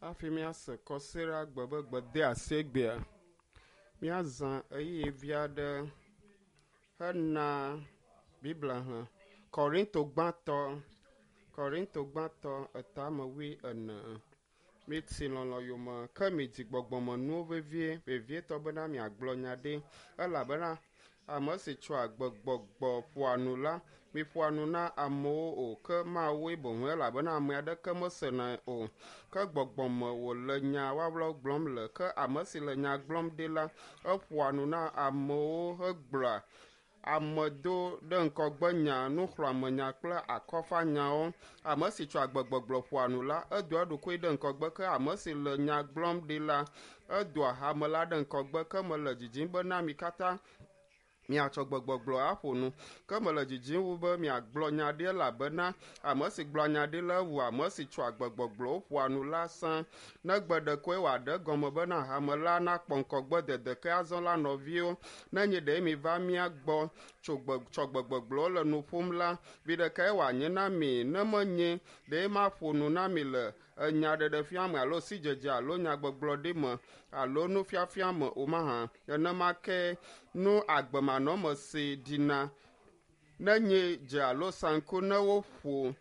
Hafi míase kɔsiɖagbe be gbedeasi egbea, míazã ɣeyiɣi vi aɖe hena Biblia xlẽ. Korinto gbãtɔ, Korinto gbãtɔ etame wui ene. Miti lɔlɔ̃ yome ke midi gbɔgbɔmenuwo vevie, vevietɔ bena miagblɔ nya ɖi elabena ame si tsɔa gbegbɔgbɔ ƒoa nu la, miƒoa nu na amewo o ke Mawue boŋ elabena ame aɖeke mesenae o. Ke gbɔgbɔme wòle nya wawlawo gblɔm le ke ame si le nya gblɔm ɖi la, eƒoa nu na amewo hegblɔa ame do ɖe ŋgɔgbenya, nuxlɔ̃amenya kple akɔfanyawo. Ame si tsɔa gbegbɔgblɔ ƒoa nu la, edoa eɖokui ɖe ŋgɔgbe ke ame si le nya gblɔm ɖi la, edoa hame la ɖe ŋgɔgbe ke mele didim bena mi katã miatsɔ gbegbɔgblɔ aƒo nu. Ke mele didim wu be miagblɔ nya ɖi elabena ame si gblɔa nya ɖi la wu ame si tsɔa gbegbɔgblɔwo ƒoa nu la sã. Negbe ɖekoe wòaɖe egɔme bena hame la nakpɔ ŋgɔgbe dede ke azɔ la nɔviwo, nenye ɖe miva mía gbɔ tso gbe tsɔ gbegbɔgblɔwo le nu ƒom la, vi ɖekae wòanye na mi ne menye ɖe maƒo nu na mi le enyaɖeɖefia me alo sidzedze alo nyagbɔgblɔɖi me alo nufiafia me o mahã. Nenema ke nu agbemanɔme si ɖina nenye dze alo saŋku ne woƒo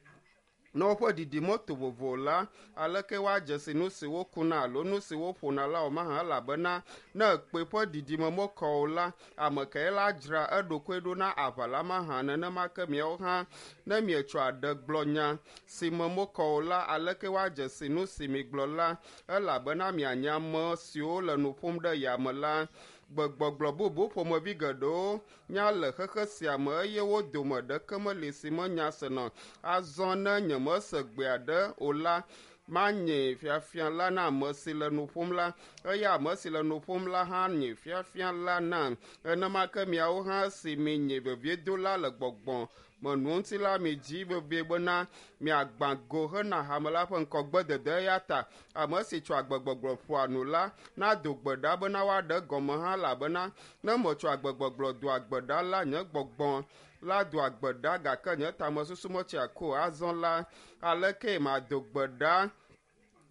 ne woƒe ɖiɖi meto vovo la, aleke woadze si nu si wokuna alo nu si woƒona la o mahã elabena ne kpẽ ƒe ɖiɖime mekɔ o la, ame kae la dzra eɖokui ɖo na aʋa la mahã. Nenema ke miawo hã ne mietsɔ aɖe gblɔ nya si me mekɔ o la, aleke woadze si nu si migblɔ la elabena mianye ame siwo le nu ƒom ɖe yame la. Gbegbɔgblɔ bubu ƒomevi geɖewo nya le xexe sia me eye wo dome ɖeke meli si menya sena. Azɔ ne nyemese gbe aɖe o la, manye fiafia la na ame si le nu ƒom la eye ame si le nu ƒom la hã nye fiafia la nam. Nenema ke miawo hã si minye veviedola le gbɔgbɔ me nu ŋuti la midzi vevie bena miagbã go hena hame la ƒe ŋgɔgbedede eya ta ame si tsɔ agbegbɔgblɔ ƒoa nu la nado gbe ɖa bena woaɖe egɔme hã elabena ne metsɔ agbegbɔgblɔ doa gbe ɖa la, nye gbɔgbɔ la doa gbe ɖa gake nye tamesusu metsia ko azɔ la, aleke mado gbe ɖa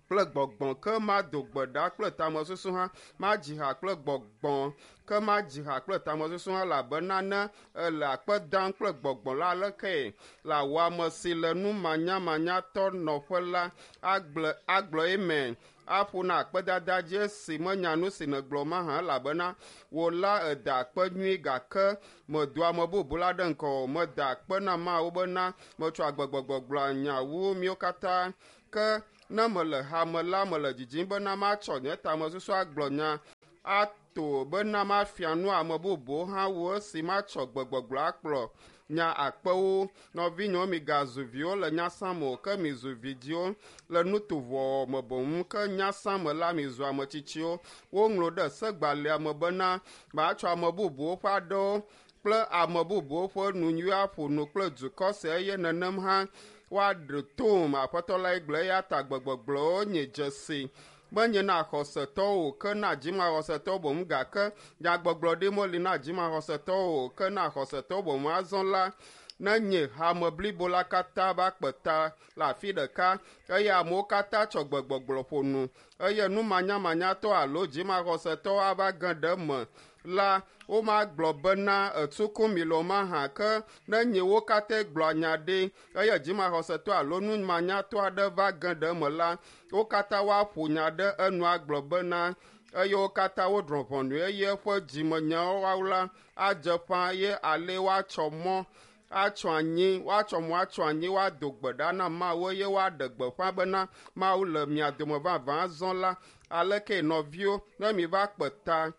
kple gbɔgbɔ ke mado gbe ɖa kple tamesusu hã, madzi ha kple gbɔgbɔ ke madzi ha kple tamesusu hã elabena ne ele akpe dam kple gbɔgbɔ la, aleke le awɔ ame si le nu manyamanyatɔ nɔƒe la agblɔ agblɔ eme aƒo na akpedada dzi esi menya nu si nègblɔ mahã elabena wò la èda akpe nyui gake medo ame bubu la ɖe ŋgɔ o. Meda akpe na Mawu bena metsɔ agbegbɔgblɔ gblɔa nya wu míwo katã. Ke ne mele hame la me le didim bena matsɔ nye tamesusu agblɔ nya ato bena mafia nu ame bubuwo hã wu esi matsɔ gbegbɔgblɔ akplɔ nya akpewo. Nɔvinyewo migazu viwo le nyasã me o ke mizu vidziwo le nutovɔwɔwɔ me boŋ ke nyasã me la mizu ametsitsiwo. Woŋlɔ ɖe segbalẽa me bena matsɔ ame bubuwo ƒe aɖewo kple ame bubuwo ƒe nu nyui aƒo nu kple dukɔ sia eye nenem hã woaɖe tom. Aƒetɔ lae gblɔ eya ta gbegbɔgblɔwo nye dzesi menye na xɔsetɔwo o ke na dzimaxɔsetɔwo boŋ gake nyagbɔgblɔɖi meli na dzimaxɔsetɔwo o ke na xɔsetɔwo boŋ. Azɔ la, nenye hame blibo la katã va kpe ta le afi ɖeka eye amewo katã tsɔ gbegbɔgblɔ ƒo nu eye numanyamanyatɔ alo dzimaxɔsetɔwo ava ge ɖe eme la, womagblɔ bena etuku mi le o mahã ke nenye wo katã gblɔa nya ɖi eye dzimaxɔsetɔ alo numanyatɔ aɖe va ge ɖe eme la, wo katã woaƒo nya ɖe enu agblɔ bena eye wo katã wodrɔ̃ ʋɔnui eye eƒe dzimenyawo la adze ƒã eye ale woatsɔ mɔ atsɔ anyi woatsɔ mɔ atsɔ anyi woado gbe ɖa na Mawu eye woaɖe gbeƒã bena Mawu le mia dome vavã. Azɔ la, aleke nɔviwo ne miva kpe ta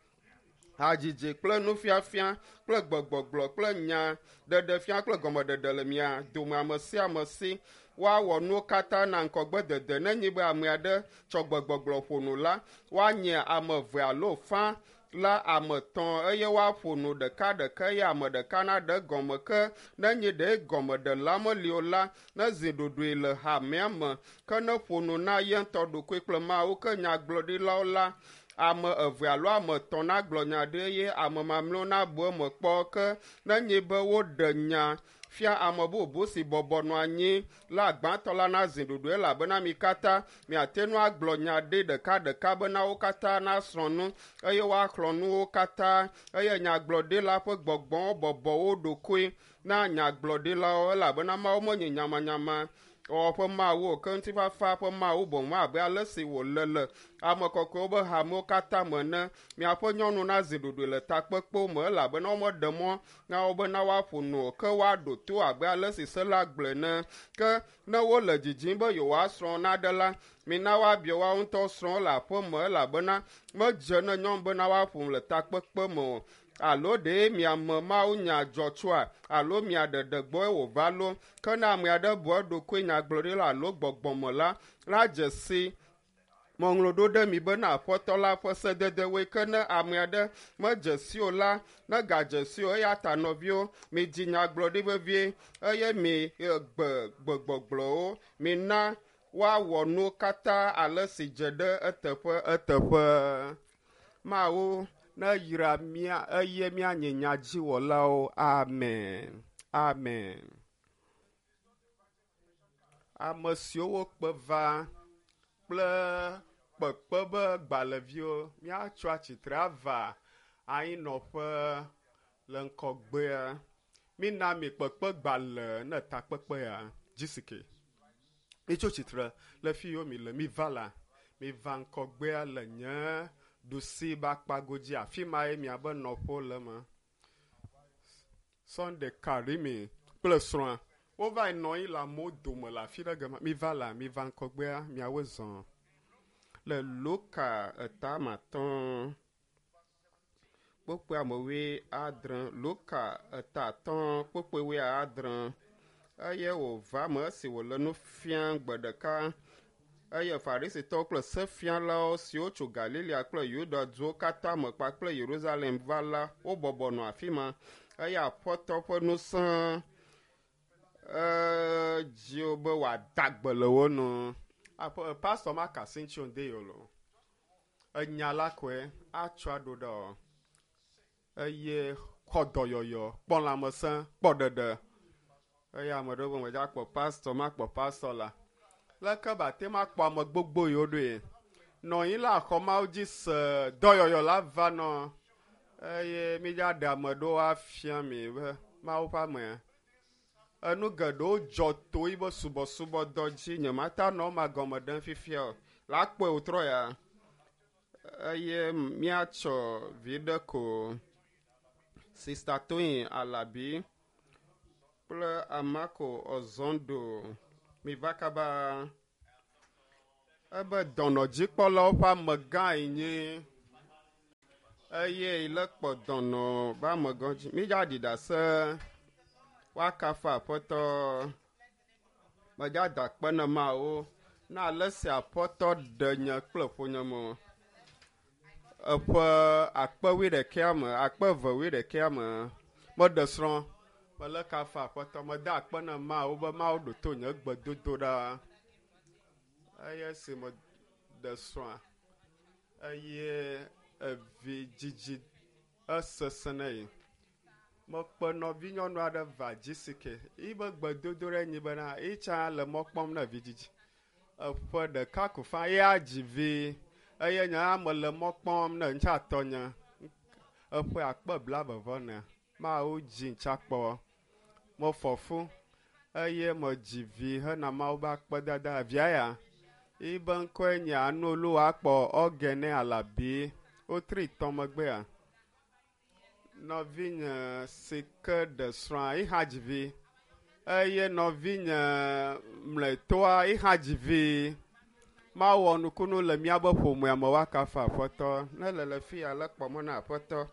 hadzidzi kple nufiafia kple gbegbɔgblɔ kple nya ɖeɖefia kple gɔmeɖeɖe le mia dome ame sia ame si woawɔ nuwo katã na ŋgɔgbedede. Nenye be ame aɖe tsɔ gbegbɔgblɔ ƒo nu la, woanye ame eve alo fã la ame etɔ̃ eye woaƒo nu ɖekaɖeka eye ame ɖeka naɖe egɔme ke nenye ɖe gɔmeɖela meli o la, nezi ɖoɖoe le hamea me ke neƒo nu na ye ŋutɔ ɖokui kple Mawu. Ke nyagblɔɖilawo la, ame eve alo ame etɔ̃ nagblɔ nya ɖi eye ame mamlɛwo nabu eme kpɔ ke nenye be woɖe nya fia ame bubu si bɔbɔ nɔ anyi la gbãtɔ la nazi ɖoɖoe elabena mi katã miate ŋu agblɔ nya ɖe ɖekaɖeka bena wo katã nasrɔ̃ nu eye woaxlɔ̃ nu wo katã eye nyagblɔɖila ƒe gbɔgbɔwo bɔbɔ wo ɖokui na nyagblɔɖilawo elabena Mawu menye nyamanyama wɔwɔ ƒe Mawu o, ke ŋutifafa ƒe Mawu boŋ abe ale si wòle le ame kɔkɔewo be hamewo katã me ene. Miaƒe nyɔnu nazi ɖoɖoe le takpekpewo me elabena womeɖe mɔ na wo bena woaƒo nu o, ke woaɖo to abe ale si se la gblɔe ene. Ke ne wole didim be yewoasrɔ̃ naɖe la, mina woabia woawo ŋutɔ srɔ̃wo le aƒe me elabena medze ne nyɔnu bena woaƒo nu le takpekpe me o. Alo ɖe miame mawunya dzɔ tsoa alo mia ɖeɖe gbɔe wòva lo. Ke ne ame aɖe bu eɖokui nyagblɔɖila alo gbɔgbɔme la, la dze si ŋɔŋlɔ ɖo ɖe mi bena Aƒetɔ la ƒe sededewoe. Ke ne ame aɖe medze si o la, negadze si o. Eya ta nɔviwo, midzi nyagblɔɖi vevie eye mi gbe gbegbɔgblɔwo. Mina woawɔ nuwo katã ale si dze ɖe eteƒe eteƒe. Mawu neyra mía eye míanye nyadziwɔlawo. Amen. Amen. Ame siwo wokpe va kple kpekpe be gbalẽviwo míatso atsitre ava anyinɔƒe le ŋgɔgbea. Mina mi kpekpe gbalẽ ne takpekpea GCK. Mitso tsitre le fi yiwo mi le miva la, miva ŋgɔgbea le nye ɖusi be akpa godzi. Afi mae miabe nɔƒewo le eme. Sunday Karimi kple srɔ̃a wova yi nɔ anyi le amewo dome le afi ɖe gema. Miva la, miva ŋgɔgbea, miawoe zɔ. Le Luka etama atɔ̃ kpukpui ame wuiadre. Luka eta atɔ̃ kpukpui 70 eye wòva me esi wòle nu fiam gbe ɖeka eye Farisitɔwo kple sefialawo siwo tso Galilea kple Yuda duwo katã me kpakple Yerusalem va la, wobɔbɔ nɔ afi ma eye Aƒetɔ ƒe ŋusẽ edzi wo be wòada gbe le wo nu. Aƒe pastor ma ka asi ŋuti o ŋde yi o lo. Enya la koe atsɔ aɖo ɖe o. Eye xɔ dɔyɔyɔ, kpɔ lãmesẽ, kpɔ ɖeɖe. Eye ame ɖewo be medza kpɔ pastor, makpɔ pastor la. Leke be ate ŋu akpɔ ame gbogbo yiwo ɖoe. Nɔ anyi le axɔ Mawu dzi se dɔyɔyɔ la va nɔ eye mídza ɖe ame ɖewo afia mi be Mawu ƒe amea. Enu geɖewo dzɔ to yibe subɔsubɔdɔ dzi. Nyemate nɔ ema gɔme ɖem fifia o. La kpɔe wòtrɔ ya eye míatsɔ vi ɖe ko Sista Toyin Alabi kple Amako Ɔzɔndo miva kaba. Ebe dɔnɔdzikpɔlawo ƒe amegã yi nye eye le kpɔ dɔnɔ be amegã dzi. Mídza ɖi ɖase woakafu Aƒetɔ. Medza da akpe ne Mawu na ale si Aƒetɔ ɖe nye kple ƒonyeme. Eƒe akpe wuiɖekɛa me, akpe eve wuiɖekɛa me, meɖe srɔ̃. Mele kafu Aƒetɔ. Meda akpe ne Mawu be Mawu ɖo to nye gbedodoɖa. Eye esi meɖe srɔ̃a, eye evi dzidzi esesẽ ne yi. Mekpe nɔvinyɔnu aɖe va GCK. Yibe gbedodoɖa nyi bena yitsã le mɔ kpɔm ne vidzidzi. Eƒe ɖeka ko fã ya dzi vi eye nye hã mele mɔ kpɔm ne ŋutsa tɔnye. Eƒe akpe blaeve vɔ ene. Mawu dzi ŋutsa kpɔ. Mefɔ fu eye medzi vi hena Mawu be akpedada. Via ya, yibe ŋkɔe nye Anoluwakpɔ Ɔgɛnɛ Alabi. Wotri tɔ megbea. Nɔvinye si ke ɖe srɔ̃a yiha dzi vi eye nɔvinye mlɔetɔa yiha dzi vi. Mawɔ nukunu le míabe ƒomea me woakafu Aƒetɔ. Ne le le fi ya le kpɔm na Aƒetɔ.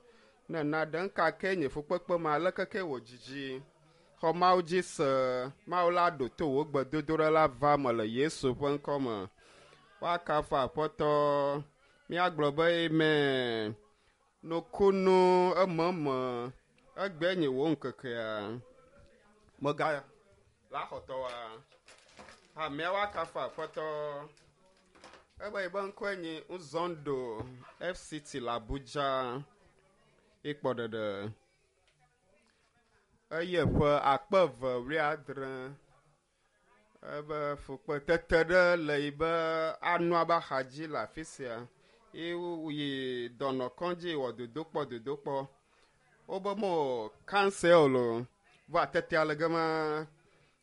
Ne naɖe ŋka ke nye fukpekpe ma aleke ke wò dzidzi. Xɔ Mawu dzi se. Mawu la ɖo to wò gbedodoɖa la va me le Yesu ƒe ŋkɔ me. Woakafu Aƒetɔ. Míagblɔ be amen. Nukunu ememe egbe nye wò ŋkekea. Mega la xɔtɔwa. Hamea woakafu Aƒetɔ. Ebe yibe ŋkɔe nye Nzondo FCT le Abuja. Ikpɔ ɖeɖe. Eye ƒe 2070 ebe fukpetete ɖe le yi be anɔa be axadzi le afi sia. Ye woyi dɔnɔkɔdzi wɔ dodokpɔ dodokpɔ. Wobe mo cancer o lo. Vɔa tetea le gema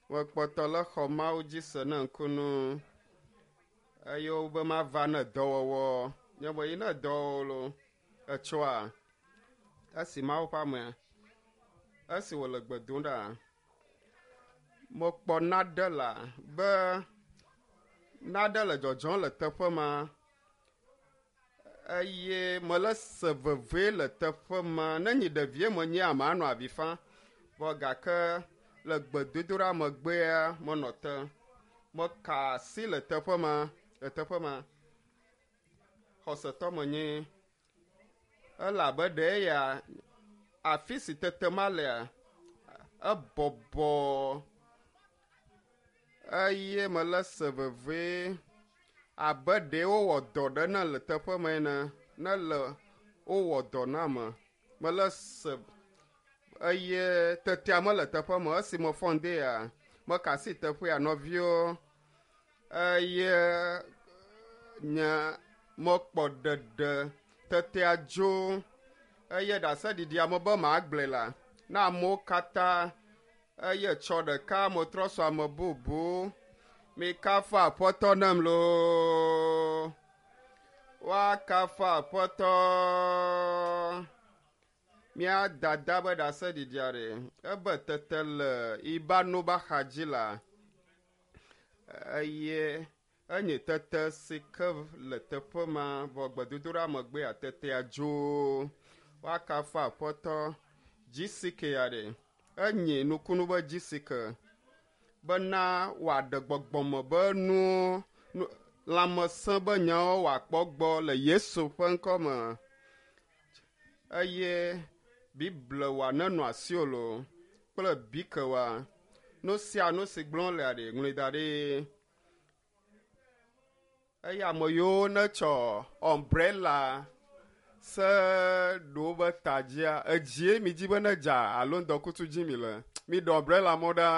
mekpɔtɔ le xɔ Mawu dzi se ne ŋkunu eye wobe mava ne dɔwɔwɔ. Nye me yi ne dɔwɔwɔ lo etsɔa esi Mawu ƒe amea esi wòle gbe dom ɖa mekpɔ naɖe la be naɖe le dzɔdzɔm le teƒe ma eye mele se veve le teƒe ma. Ne nyi ɖevie menye ame anɔ avi fam vɔ gake le gbedodoɖa megbea menɔ te. Meka asi le teƒe ma le teƒe ma. Xɔsetɔ menye elabe ɖe ya afi si tete ma lea ebɔbɔ eye mele se veve abe ɖe wowɔ dɔ ɖe ne le teƒe ma ene ne le wowɔ dɔ na me mele se eye tetea mele teƒe me esi mefɔ ŋdi ya meka asi teƒea nɔviwo eye nye mekpɔ ɖeɖe tetea dzo eye ɖaseɖiɖia me be magblɔe la na amewo katã eye tsɔ ɖeka metrɔ sɔ ame bubu mikafu aƒetɔ nam loo woakafu aƒetɔ mía dada be ɖaseɖiɖia ɖe ebe tete le ibano be axadzi la eye enye tete si ke le teƒe ma vɔ gbedodoɖa megbea tetea dzo woakafu aƒetɔ GCK ya ɖe enye nukunu be GCK bena wòaɖe gbɔgbɔme be nuwo lãmesẽ be nyawo wòakpɔ gbɔ le Yesu ƒe ŋkɔ me eye Bible wòa nenɔ asiwò loo kple bike wòa nu sia nu si gblɔm lea ɖe ŋlɔe da ɖi eye ame yiwo netsɔ umbrella se ɖewo be ta dzia edzie mi dzi be ne dza alo ŋdɔkutsu dzi mi le mi ɖe umbrella mɔ ɖa.